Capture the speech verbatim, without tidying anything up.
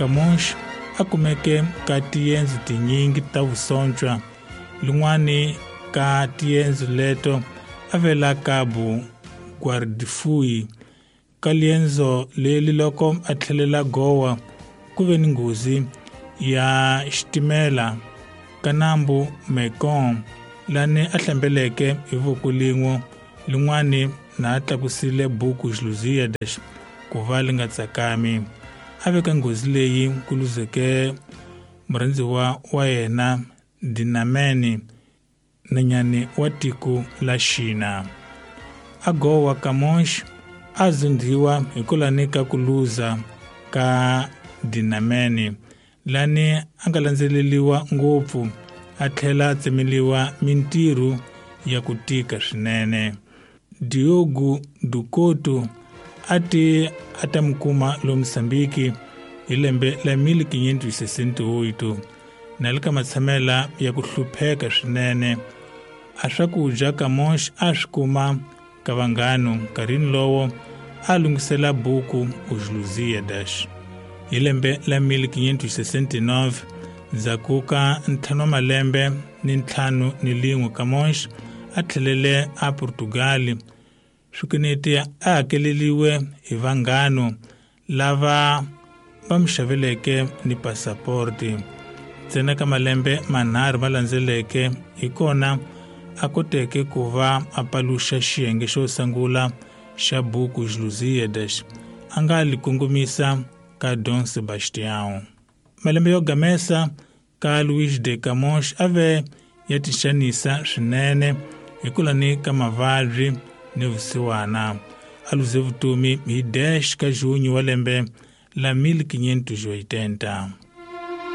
Camões a kumeke ka tiendzo tinyingi ta vusontshwa. Lin'wani ka tiendzo leto a vela Cabo Guardafui. Ka liendzo leli loko a tlhelela Goa ku ve ni nghozi ya xitimela ka nambu Mekong lani a hlambeleke hi voko lin'we, lin'wani na a tlakusile buku Lusíadas ku va li nga tsakami. A veka nghozi leyi ku luzeke murhandziwa wa yena Dinamene, nanyani wa tiko la Xina. A Goa Camões a zundhiwa hikwalani ka ku luza ka Dinamene, lani a nga landzeleriwa ngopfu a tlhela a tsemeliwa mintirho ya ku tika swinene. Diogo do Couto a ti a ta mi kuma lo Mozambique hi lembe la mil quinhentos e sessenta e oito, na le ka matshamela ya ku hlupheka swinene. A swakudya Camões a swi kuma ka vanghana nkarhini lowo a lunghisela buku Os Lusíadas. Hi lembe la mil quinhentos e sessenta e nove, ndzhaku ka ntlhanu wa malembe ni ntlhanu ni lin'we, Camões a tlhelele a Portugal. Swikweleti a hakeleriwe hi vanghana lava va mi xaveleke ni passaporti. Ntsena ka malembe manharhu ma landzeleke hi kona a koteke ku va a paluxa xiyenge xo sungula xa buku Lusíadas a nga li kongomisa ka Dom Sebastião. Malembe yo gamesa ka Luís de Camões a ve ya tixanisa swinene hikwalani ka mavabyi ni vusiwana. A luze vutomi hi dez ka junho wa lembe la mil quinhentos e oitenta.